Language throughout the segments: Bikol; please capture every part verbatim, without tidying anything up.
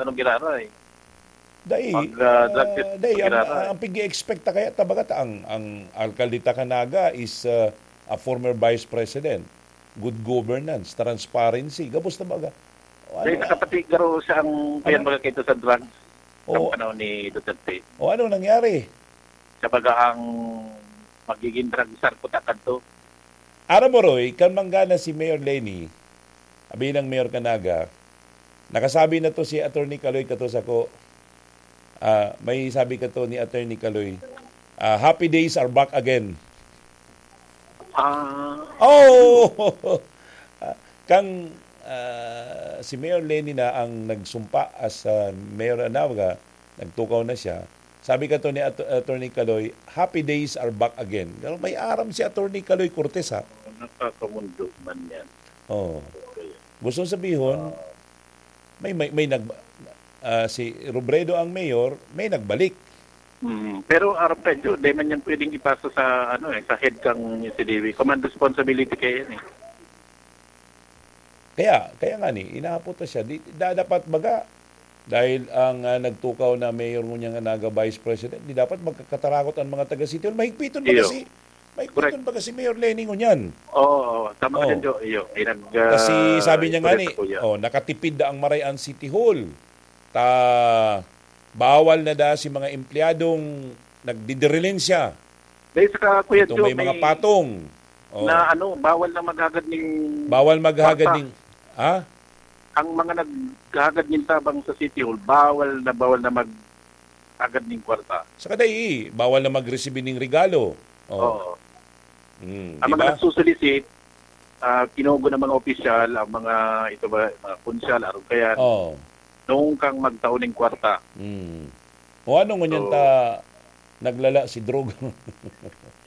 Anong ginagawa eh? Dai, Mag, ah, drug ah, test dai, ang, ginagawa eh. Ang pigi-expect ta kaya ta baga ta ang, ang alkalde ta kan Naga is, ah, a former vice president, good governance, transparency, gabos na baga. O, Dahil ano, nakapati garo siya ang ano? Kaya baga kayo sa drugs Oo. Sa panahon ni Duterte. O, ano nangyari? Siya baga ang magiging drug czar ko takad to. Aram mo, Roy, kan manggana si Mayor Leni, abi ng Mayor kan Naga, nakasabi na to si Attorney Kaloy kato sako. Ah, may sabi kato ni Attorney Kaloy, ah, "Happy days are back again." Ah. Oh! Ah, kang, ah, si Mayor Leni na ang nagsumpa as, ah, Mayor Anawaga, nagtukaw na siya. Sabi kato ni At-, Attorney Kaloy, "Happy days are back again." Pero may aram si Attorney Kaloy Cortez, ha? Nakakamundo man yan. Oo. Okay. Gusto sabihon, Ah. may, may, may nag-, ah, si Robredo ang mayor, may nagbalik. Mm, pero arap ka, Jo, di man yan pwedeng ipasa sa, ano eh, sa head kang C D B. Command responsibility kaya yan eh. Kaya, kaya nga ni, inahapot na siya. Di, da-, dapat baga, dahil ang, ah, nagtukaw na mayor ngunyan nga Naga vice president, di dapat magkakatarakot ang mga taga City Hall. Mahigpiton baga Iyo. si, mahigpiton Correct. baga si Mayor Leni ngunyan. Oo, oo. Tama ka Oo. dyan, Jo. Iyo. Ay, nag, Kasi ah, sabi niya nga kulit ni, ako, yeah. oh, nakatipid na ang Marayan City Hall. Ta, bawal na da si mga empleyadong nagdidirilinsya. Dahil sa ka, Kuya Ito Jo, may mga may patong. Oh. na ano, bawal na maghagad ning Bawal maghagad kwarta. ning, ha? Ang mga naghagad ning tabang sa City Hall, bawal na, bawal na maghagad ning kwarta. Saka dai, bawal na magresibi ning regalo. Oh. Oo. Mm, Ang di mga ba? nagsusulisit, ah, kinugo ng mga opisyal, ang mga, ito ba, mga kunsyal, arog kayan, Oh. nung kang magtao ning kwarta. Mm. O ano ngunyan So, ta naglala si droga?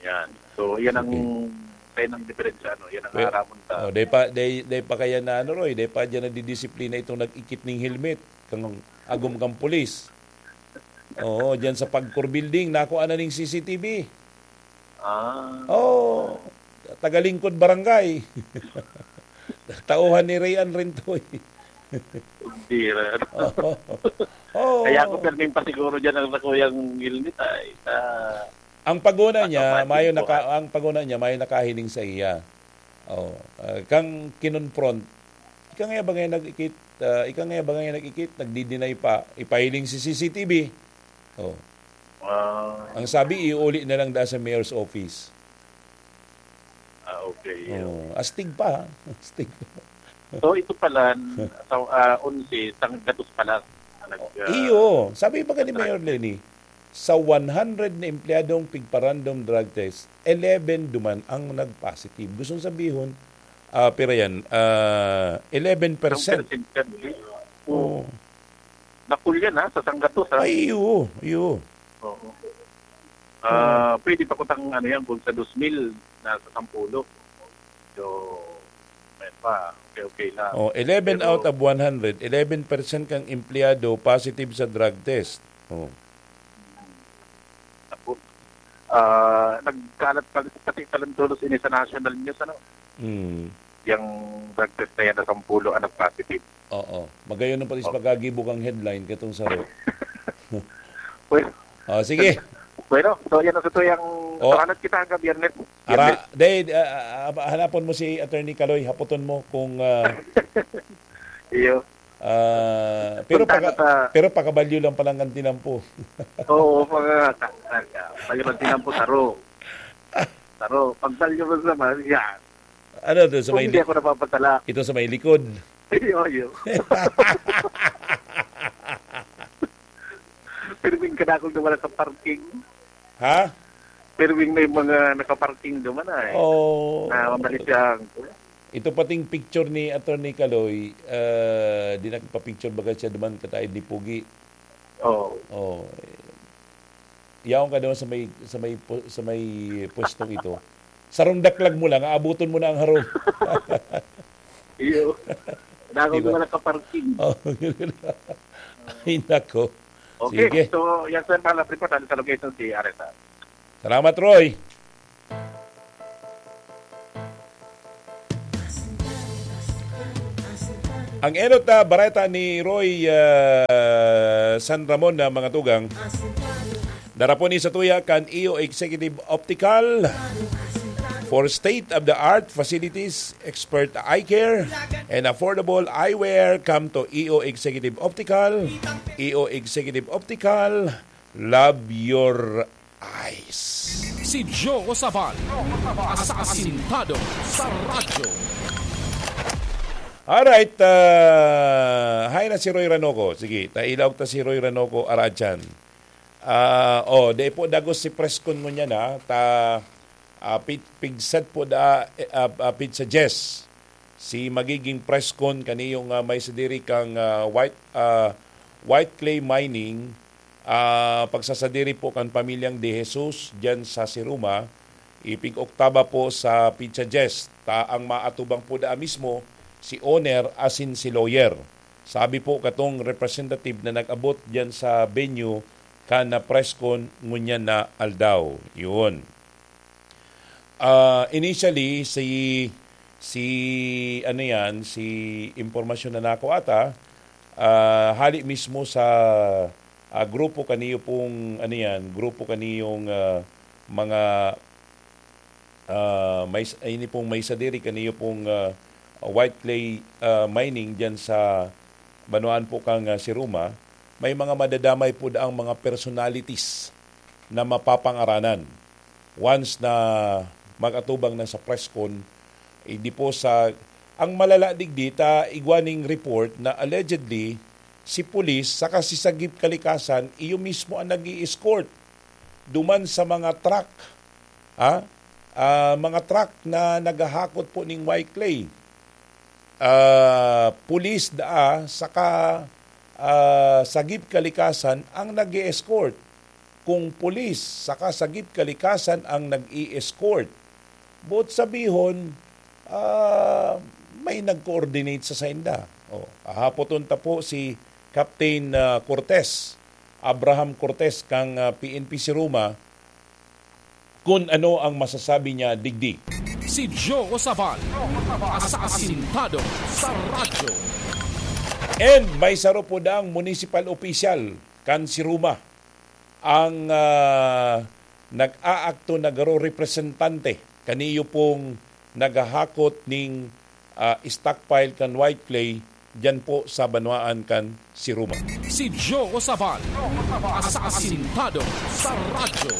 Yan. So, yan ang, Sige. yan ang diferensya, no? Yan ang Pe-, aramon ta. oh, dai pa, dai, dai pa kaya na ano, Roy, dai pa dyan nadidisiplina itong nag-ikit ning helmet, kang agom kang pulis. Oo, dyan sa Pagcor Building, nakuha na ning C C T V. Ah. Oh, tagalingkod barangay. Tauhan ni Rayan rin to eh. Hindi, ano. Oo. Oo. Kaya ako pirming pasiguro dyan ang sakuyang helmet ay sa Ang paguna niya, Automatic mayo po, naka-, ah. ang paguna niya, mayo nakahiling sa iya. Oh, ah, kang kinonfront, ika nga ba ngayon nag-ikit, ah, ika nga ba ngayon nag-ikit, nagdi-deny pa, ipahiling si C C T V. Oh. Ah. Ang sabi, iuli na lang da sa mayor's office. Ah, okay. Oh, astig pa, ha? Astig pa. So, ito pala, sa, ah, onse, sanggatos pala ang nag, ah, Iyo, sabi pa ni nag-, Mayor Leni, sa one hundred na empleyadong pigpa-random drug test, eleven duman ang nag-positive. Gustong sabihon, ah, pira yan, ah, eleven percent. Ang percent yan, eh. Oo. Nakul yan, ha, sa sanggatos, ha? Ay, oo, iyo. Oo. Ah, pwede pa kutang ano yan, kung sa dos mil, nasa sampulo. So, may pa, okay, okay lang. Oh, eleven Pero out of one hundred, eleven percent kang empleyado positive sa drug test. Oh. Naku. Ah, nagkalat pa, pati talantolos ini sa national news, ano? Hmm. Yang drug test na yan na sampulo ang nag-positive. Oo. Magayon na pati sa Oh. pagkagibo kang headline katong saro. Well, Oh, sige. Bueno, so yan ang sa tuyang Oh. sahanat kita hanggang Biyernes. Ara, Biyernes. Day, ah, ah, hanapon mo si Attorney Kaloy, haputon mo kung, ah, Iyo. ah, pero Punta paka-, ka sa pero pakabalyo lang palang ang tinampo. Oo, mga ka-, ka-, ka-, pag tinampo, taro. Taro. Pagbalyo mo sa mga, yan. Ano to, sa Kung may hindi li-, ako napapatala. Ito sa may likod. Iyo, iyo. Pirming kadakol na wala sa parking. Ha? Pirming may mga nakaparking naman ay. Oo. Na mamalis siya ang Ito pating picture ni Attorney Kaloy, ah, di nagpa-picture baga siya duman kataid ni Pugi. Oo. Oh. Yaon ka daw sa may, sa may pu-, sa may pwestong ito. Sarong daklag mo lang, aabuton mo na ang harong. Iyo. Dako Diba? Ko na nakaparking. Oh, ay, nako. Okay, Sige. So, yan sa mga report, ano sa location si R S R. Salamat, Roy. Ang enot na bareta ni Roy, ah, San Ramon na mga tugang. Darapon ni sa tuya kan E O Executive Optical for state-of-the-art facilities, expert eye care, and affordable eyewear. Come to E O Executive Optical. E O Executive Optical, love your eyes. Si Joe Sabal, asasintado sa radyo. Alright, ah, hay na si Roy Ranoco. Sige, tailaog ta si Roy Ranoco, Aradyan. Ah, oh, dai po dagos si press con ngunyan, ha. Ta, ah, pit-, pigsat po da, eh, ah, ah, pizza Jess. Si magiging press con kaniyong, ah, may sadiri kang, ah, white, ah, white clay mining, ah, pagsasadiri po kan pamilyang De Jesus diyan sa Siruma, ipig-oktaba po sa pizza Jess. Ta ang maatubang po da mismo si owner asin si lawyer. Sabi po katong representative na nag-abot diyan sa venue kan na press con ngunyan na aldaw. Yun. Ah, initially, si, si, ano yan, si impormasyon na nako ata, ah, hali mismo sa, ah, grupo kaniyo pong, ano yan, grupo kaniyong, ah, mga, ah, may, ini pong may sadiri kaniyo pong, ah, white clay, ah, mining dyan sa banwaan po kang, ah, Siruma. May mga madadamay po daang mga personalities na mapapangaranan once na mag-atubang na sa press con. Hindi po sa, ang malala digdi ta igwa ning report na allegedly si pulis saka si Sagip Kalikasan iyo mismo ang nag-i-escort duman sa mga truck, ha? Ah, mga truck na naghahakot po ning white clay. Ah, pulis daa saka, ah, Sagip Kalikasan ang nag-e-escort. Kung pulis saka Sagip Kalikasan ang nag-i-escort, buot sabihon, ah, may nag-coordinate sa sainda. Oh, hahapoton ta po si Captain, ah, Cortez, Abraham Cortez, kan, ah, P N P Siruma, kun ano ang masasabi niya digdi. Si Joe Sabal, asasintado sa radyo. And may saro po daang municipal official kan Siruma ang, ah, nag-aakto na garo representante kaniyo pong naghahakot ning, ah, stockpile kan white clay diyan po sa banwaan kan Siruma. Si Joe Sabal, asasintado sa radyo.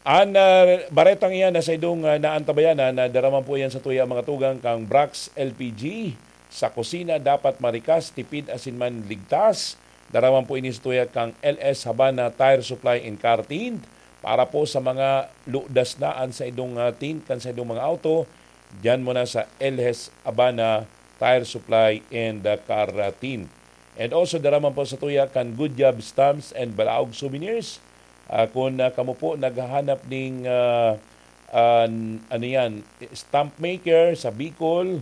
An, ah, baretang iyan na sa idong, ah, naantabayanan na daraman po iyan sa tuya mga tugang kang Brax L P G. Sa kusina, dapat marikas, tipid asin man ligtas. Daraman po ini sa tuya kang L S Habana Tire Supply and Car Tint para po sa mga ludas naan sa idong, ah, tint kan sa idong mga auto. Diyan muna sa L S Habana Tire Supply and, ah, Car, ah, Tint. And also, daraman po sa tuya kan Good Job Stamps and Balaog Souvenirs. Ah, kung, ah, kamo po naghahanap ning, ah, ah, n-, ano yan, stamp maker sa Bicol,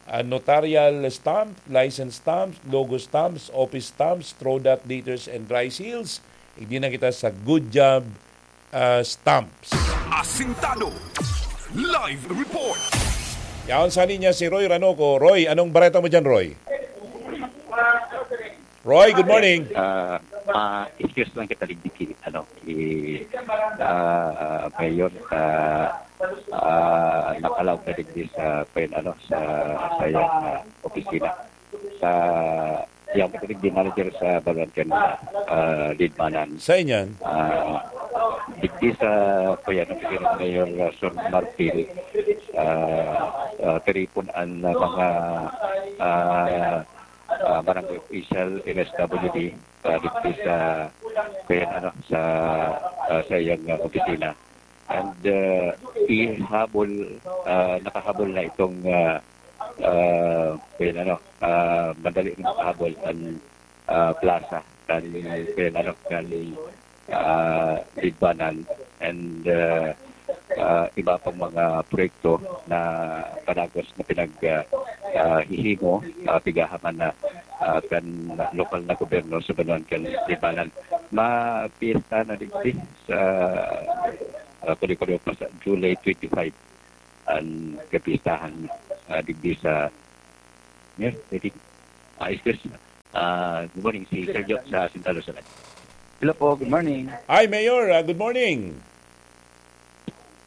ah, notarial stamp, license stamps, logo stamps, office stamps, throw dot daters and dry seals, igdi na kita sa Good Job, ah, Stamps. Asintado. Live report. Yaon sa linya si Roy Ranoco. Roy, anong bareta mo dyan, Roy? Roy, good morning. Ah, ah, excuse lang kita digdi ki, ano, ki, ah, Mayor, ah, ah, nakalaog ka digdi sa, kwen, ano, sa, sa iyang, ah, opisina. Sa, iyang kita digdi manager sa Balancan, ah, Lidmanan. Sa inyan? Ah, digdi sa, kwen, ano, opisina ni Mayor, ah, Son Marfil, ah, ah, tiripon an, ah, mga, ah, ah, barangay official, M S W D, ah, dito sa, kaya ano, sa, ah, sa iyang, ah, opisina. And, ah, ihabol, ah, nakahabol na itong, ah, ah, kaya ano, ah, madali na nakahabol ang, ah, plaza kan, kaya ano, kan ah, Lidbanan and, ah, ah, iba pang mga proyekto na padagos na pinag, ah, ah, hihimo, ah, pigahaman na, ah, kan lokal na gobyerno sa banwaan kan Lidbanan. Mapiesta na digdi sa, ah, kundi-kundi pa sa July twenty-five ang kapistahan, ah, digdi sa Mayor, pwede. Ah, excuse me. Ah, good morning, si Sir Joe sa Central Luzon. Hello po, good morning. Hi, Mayor. Ah, good morning.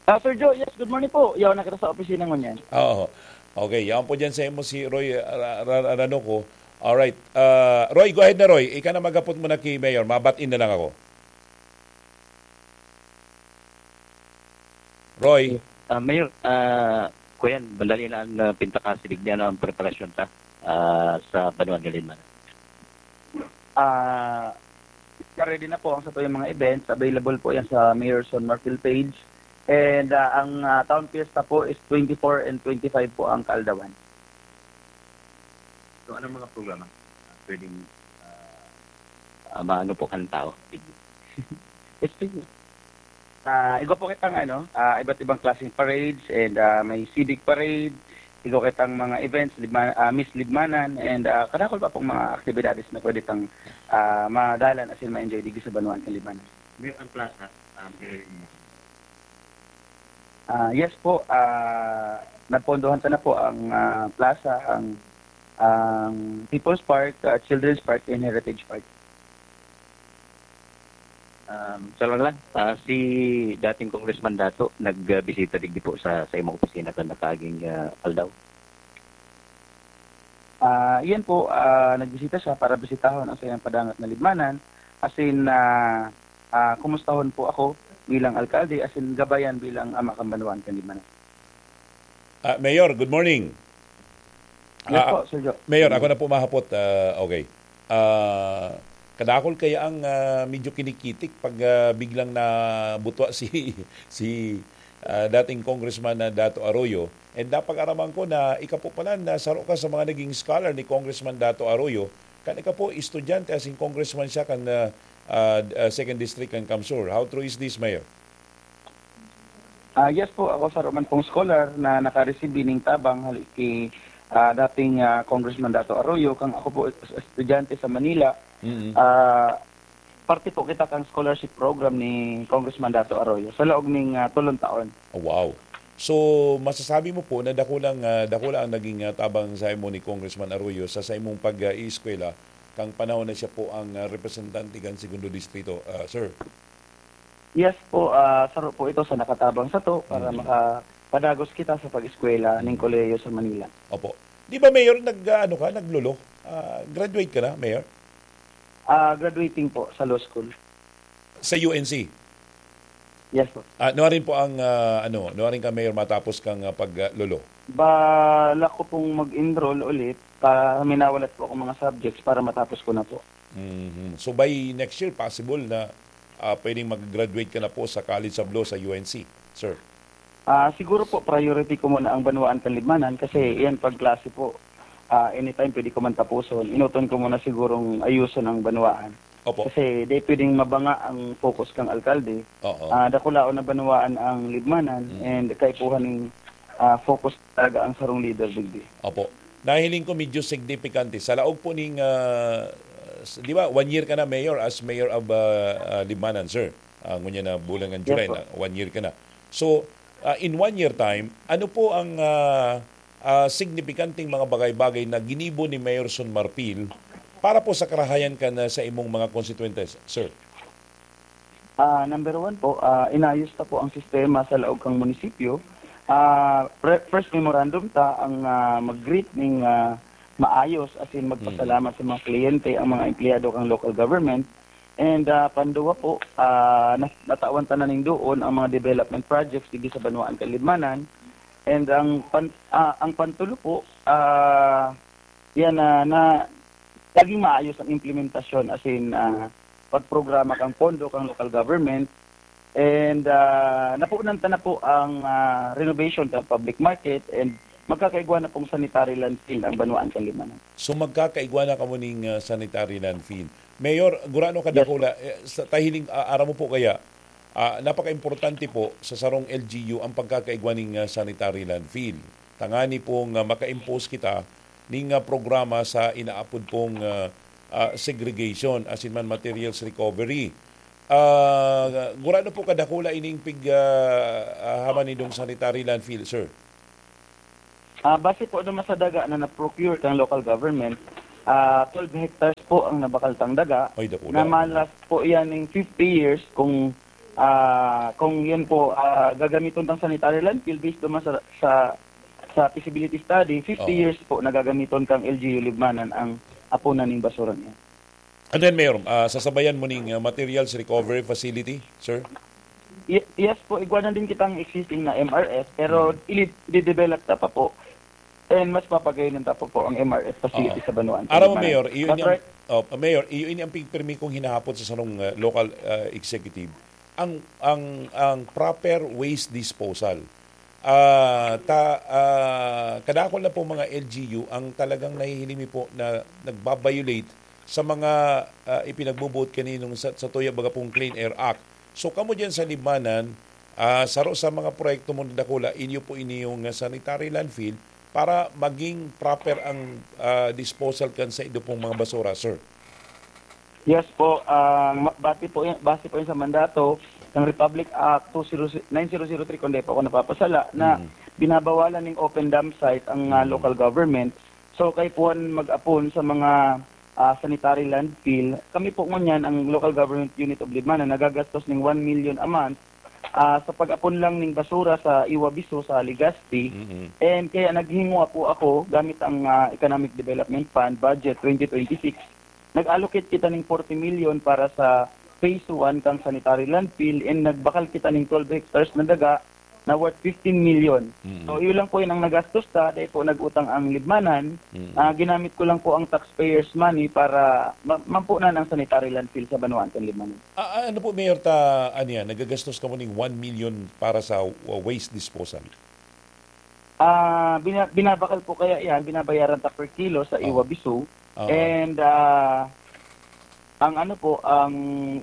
Ah, Sir Joe, yes, good morning po. Yaw na kita sa opisina ngunyan. Oo. Okay, yaon po dyan sa imo si Roy, ah, Ra-, Ra-, Ranoco. Alright. Ah, Roy, go ahead na, Roy. Ika na maghapot muna ki Mayor. Mabatiin na lang ako. Roy? Ah, Mayor, ah, kuyan, madali na ang, ah, pintakasilig niya, no, ang preparasyon ta, ah, sa Banwaan Galinman. Ah, ready na po ang satuyang mga events. Available po yan sa Mayor Son Marfil page. And, ah, ang, ah, Town Fiesta po is twenty-four and twenty-five po ang kaaldawan. So, anong mga programa? Pwedeng, ah, ah, maano po kang tao? Yes, please. Ah, igwa po kitang ano, ah, iba't ibang klaseng parades and, ah, may civic parade, igwa kitang mga events, Libma-, ah, Miss Libmanan, and, ah, kadakol pa pong mga aktibidades na pwede tang, ah, madalan asin ma-enjoy digdi sa banwaan kan Libmanan. May ang plaza, ah, may Ah, yes po, ah, napondohan ta na po ang, ah, plaza, ang, ang People's Park, ah, Children's Park, and Heritage Park. Um, sa lang lang, ah, si dating Congressman Dato nagbisita digdi po sa, sa imong opisina kan nakaaging, ah, aldaw. Ah, iyan po, ah, nagbisita siya para bisitahon ang saiyang padangat na Libmanan, asin, ah, ah, kumustahon po ako bilang alkalde, asin gabayan bilang ama kan banwaan kan Libmanan. Ah, Mayor, good morning. Yes Ah, po, Sir Joe. Mayor, ako na po mahapot. Ah, okay. Ah, kadakol kaya ang, ah, medyo kinikitik pag, ah, biglang nabutwa si, si, ah, dating Congressman na Dato Arroyo. And napag-araman ko na ika po pala na saro ka sa mga naging scholar ni Congressman Dato Arroyo. Kan ika po, estudyante, asin congressman siya kan, ah, ah, ah, Second District kan CamSur. How true is this, Mayor? Ah, yes po, ako saro man pong scholar na naka-receive ning tabang hali ki, ah, dating, ah, Congressman Dato Arroyo, kang ako po es-, estudyante sa Manila. Mm. Ah, parte po kita kang scholarship program ni Congressman Dato Arroyo sa laog ning, ah, tolong taon. Oh, wow. So, masasabi mo po na dakulang, ah, dakula ang naging, ah, tabang sa imo ni Congressman Arroyo sa, sa imong pag, ah, iiskwela, kang panahon na siya po ang, ah, representante kan Segundo Distrito, ah, sir? Yes po, ah, saro po ito sa nakatabang sato para Mm. makapadagos kita sa pag-eskwela ning Mm. kolehiyo sa Manila. Opo. Di ba, Mayor, nag, ah, ano ka, naglolo? Ah, graduate ka na, Mayor? Ah, graduating po sa law school. Sa U N C? Yes po. Ah, nuarin po ang, ah, ano, nuarin ka, Mayor, matapos kang, ah, pag, ah, lolo? Balak ko pong mag-enroll ulit, pa, minawalat po ako mga subjects para matapos ko na po. Mhm. So, by next year, possible na, ah, pwedeng mag-graduate ka na po sa College of Law sa U N C, sir? Ah, siguro po, priority ko muna ang banwaan kan Libmanan kasi Mm. iyan pag klase po, ah, anytime pwede ko man tapuson. Inuton ko muna sigurong ayuson ang banwaan. Opo. Kasi di pwedeng mabanga ang focus kang alkalde. Oo. Ah, dakulaon na banwaan ang Libmanan Mm. and kaipuhan ning, ah, focus talaga ang sarong leader digdi. Opo. Nahiling ko medyo significante. Sa laog po ning, ah, s-, di ba, one year ka na, Mayor, as Mayor of, ah, ah, Libmanan, sir? Ah, ngunyan na bulan ng Yes July po. na, one year ka na. So, ah, in one year time, ano po ang, ah, ah, signipikanting mga bagay-bagay na ginibo ni Mayor Son Marfil para po sa karahayan kan, ah, sa imong mga konstituyentes, sir? Ah, number one po, ah, inayos ta po ang sistema sa laog kang munisipyo. Ah, pre-, first memorandum ta ang, ah, mag-greet ning, ah, maayos, as in, magpasalamat Mm. sa mga kliyente, ang mga empleyado kang local government. And, ah, panduwa po, ah, na-, natawan ta na ning doon ang mga development projects digdi sa banwaan kan Libmanan. And ang pan-, ah, ang pantulo po, ah, yan na, na naging maayos ang implementasyon, as in, ah, pagprograma kang pondo kang local government. And, ah, napunan ta na po ang, ah, renovation sa public market and magkakaigwa na pong sanitary landfill ang banwaan kan Libmanan. So, magkakaigwa na kamo ning, ah, sanitary landfill. Mayor, gurano Yes kadakula, po. eh, sa tahiling, ah, aram mo po kaya, ah, napaka-importante po sa sarong L G U ang pagkakaigwa ning, ah, sanitary landfill. Tangani pong, ah, maka-impose kita ning, ah, programa sa inaapod pong, ah, ah, segregation, asin man materials recovery. Ah, gurano po kadakula ining pig, ah, ah, haman nindong sanitary landfill, sir? Ah, base po naman sa daga na na-procure kang local government, ah, twelve hectares po ang nabakal tang daga. Ay, dakula. Na malas po yan ng fifty years kung, ah, kung yan po, ah, gagamiton tang sanitary landfill based naman sa, sa, sa feasibility study, fifty Oo. years po na gagamiton kang L G U Libmanan ang apunan ning basura niya. And then, Mayor, ah, sasabayan mo ning, ah, materials recovery facility, sir? Ye-, yes po, igwa na din kitang existing na M R F, pero Mm. ili-, i-develop ta pa po. And mas papagayon ta pa po ang M R F facility Oo. sa Banwaan. Aram mo, Mayor, iyo That's ini ang, right. oh, Mayor, iyo ini ang pigpirmi kong hinahapot sa sarong, ah, local, ah, executive. Ang, ang, ang proper waste disposal. Ah, ta-, ah, kadakol na po mga L G U ang talagang nahihiling mi po na nagba-violate sa mga, ah, ipinagbubuot kaninong sa, sa tuya baga pong Clean Air Act. So, kamo diyan sa Libmanan, ah, saro sa mga proyekto mo na dakula, inyo po ini yung, ah, sanitary landfill para maging proper ang, ah, disposal kan sa ido pong mga basura, sir. Yes po, ang ma-, base po yan, base po yan sa mandato ng Republic Act two zero, nine zero zero three, kung di po ako napapasala, na Mm. binabawalan ng open dump site ang, ah, Mm. local government. So, kaipuhan mag-apon sa mga, ah, sanitary landfill. Kami po ngunyan, ang Local Government Unit of Libmanan, nagagastos ng one million a month, ah, sa pag-apon lang ng basura sa Iwabiso, sa Legazpi. Mm-mm. And kaya naghinguha po ako gamit ang, ah, Economic Development Fund budget twenty twenty-six. Nag-allocate kita ng forty million para sa phase one kang sanitary landfill and nagbakal kita ng twelve hectares na daga na worth fifteen million. Mm. So, yun lang po yun ang nagastos ta, dahil po nag-utang ang Libmanan. Mm. Ah, ginamit ko lang po ang taxpayers' money para ma-, mampunan ang sanitary landfill sa Banwaan kan Libmanan. Ah, ah, ano po, Mayor, ta, ano yan, nagagastos kamo ning one million para sa, uh, waste disposal? Ah, bina-, binabakal po kaya yan, binabayaran ta per kilo sa Oo. Iwabiso. Oo. And, ah, ang ano po, ang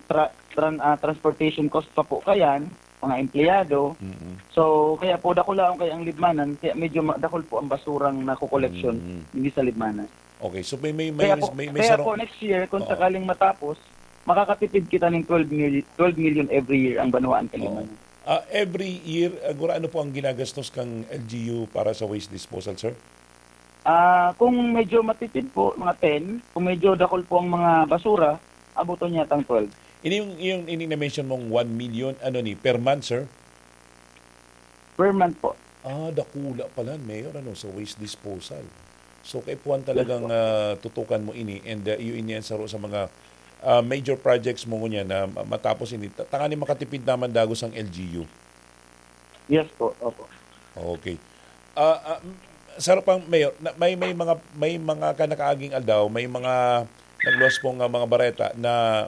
tra-, tran-, ah, transportation cost pa po kayan, mga empleyado. Mm-mm. So, kaya po dakulaon kaya ang Libmanan, kaya medyo ma-, dakul po ang basurang nako-collection Mm. hindi sa Libmanan. Okay, so may, may, may, Kaya po, may, may kaya sarong po next year, kung Oo. sakaling matapos, makakatipid kita ng twelve mil-, twelve million every year ang Banwaan kan Oo. Libmanan. Ah, every year, ah, gura, ano po ang ginagastos kang L G U para sa waste disposal, sir? Ah, kung medyo matipid po, mga ten. Kung medyo dakul po ang mga basura, abuton niya tang twelve. Ini yung, yung, ini na-mention mong one million, ano ni, per month, sir? Per month po. Ah, dakula pala, Mayor, ano, sa waste disposal. So, kaipuhan Yes talagang, po. ah, tutukan mo ini and, ah, iyo ini ang saro sa mga, ah, major projects mo ngunyan na ma-, matapos ini. Ta-, tanganing makatipid naman dagos ang L G U. Yes po, opo. Okay. Ah, ah, m-, saro pang Mayor, na, may, may mga, may mga kanakaaging aldaw, may mga nagluwas pong, ah, mga bareta na,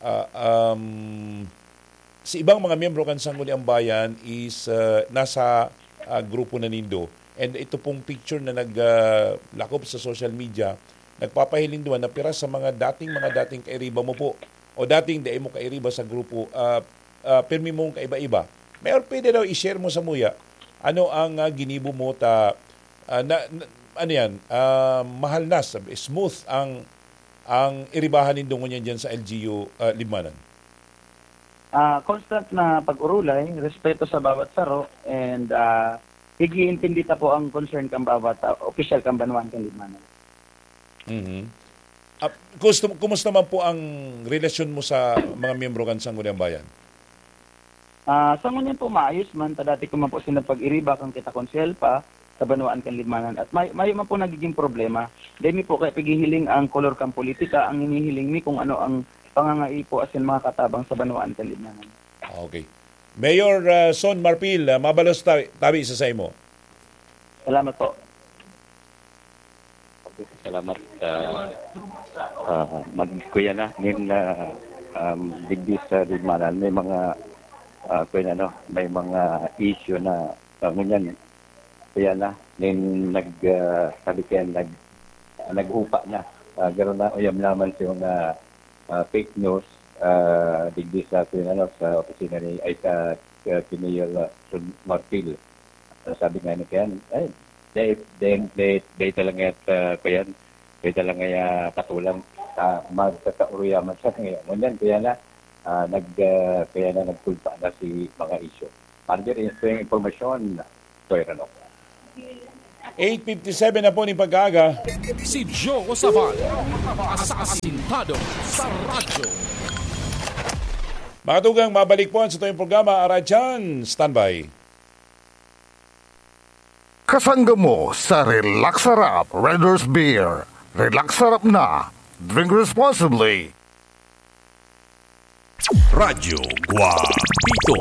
ah, um, si ibang mga miyembro kan Sangguniang Bayan is, ah, nasa, ah, grupo na nindo. And ito pong picture na nag, ah, lakop sa social media, nagpapahiling duman na pira sa mga dating, mga dating kairiba mo po o dating dai mo kairiba sa grupo, ah, ah, pirmi mong kaiba-iba. Mayor, pwede daw i-share mo sa muya, ano ang, ah, ginibo mo ta, ah, na, na, ano yan, ah, mahal na, sabi, smooth ang, ang iribahan nindo ngunyan dyan sa L G U, ah, Libmanan? Ah, constant na pag-urulay, respeto sa bawat saro, and, ah, ig-iintindi ta po ang concern kan bawat, ah, opisyal kan Banwaan kan Libmanan. Mhm. Ah, gusto, kumusta man po ang relasyon mo sa mga miyembro kan Sangguniang Bayan? Ah, sa ngunyan po, maayos man. Ta dati ko man po sila pag-iriba kan kita konsehal pa sa Banwaan kan Libmanan. At may, mayo man po nagiging problema. Dai mi po kaya pighihiling ang kolor kan politika, ang hinihiling mi kung ano ang pangangaipo asin makatabang sa Banwaan kan Libmanan. Okay. Mayor, ah, Son Marfil, ah, mabalos tabi, tabi sa saimo. Salamat po. Okay, salamat, ah, ah, mag-, kuya na, nin, ah, um, digdi sa Libmanan, may mga, ah, kuya na, no, may mga issue na, ah, ngunyan, kuya na, nin nag, ah, sabi kaya, nag, nag-upa na. Ah, garo na, uyam naman sa mga, ah, fake news, ah, digdi sa, kuya na, no, sa opisina ni, ay, sa, ah, kay Mayor, ah, Son Marfil. Sabi nga ni Ken, ay, dai, dai, dai, dai talaga at, ah, kuyan, dai talaga ya patulan. Ah, magkakauruyaman sa ngayon. Ngunyan, kaya na, ah, nag, ah, kaya na nagtugpa na si mga isyu. Para diri, ito yung impormasyon, Kuya Rano. Eight fifty-seven na po ning pag-aaga. Si Joe Sabal, asasintado sa radyo. Mga tugang, mabalik po ang satuyang programa, Aradyan. Standby. Kasangga mo sa Relax Sarap Red Horse Beer. Relax Sarap na. Drink responsibly. Radyo Guapito.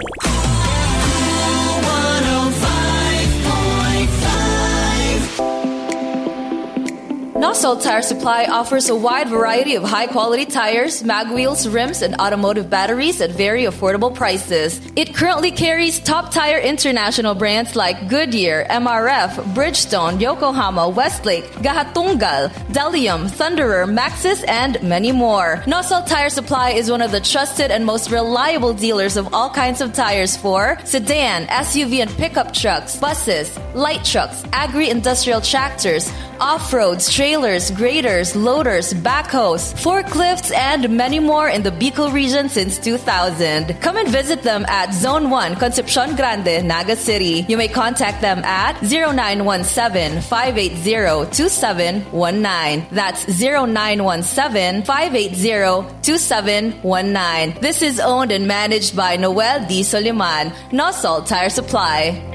Nosol Tire Supply offers a wide variety of high-quality tires, mag wheels, rims, and automotive batteries at very affordable prices. It currently carries top tire international brands like Goodyear, M R F, Bridgestone, Yokohama, Westlake, Gahatunggal, Delium, Thunderer, Maxxis, and many more. Nosol Tire Supply is one of the trusted and most reliable dealers of all kinds of tires for sedan, S U V, and pickup trucks, buses, light trucks, agri-industrial tractors, off-roads, trailers, graders, loaders, backhoes, forklifts, and many more in the Bicol region since two thousand. Come and visit them at Zone one, Concepcion Grande, Naga City. You may contact them at zero nine one seven, five eight zero, two seven one nine. That's zero nine one seven, five eight zero, two seven one nine. This is owned and managed by Noel D. Soliman, Nosol Tire Supply.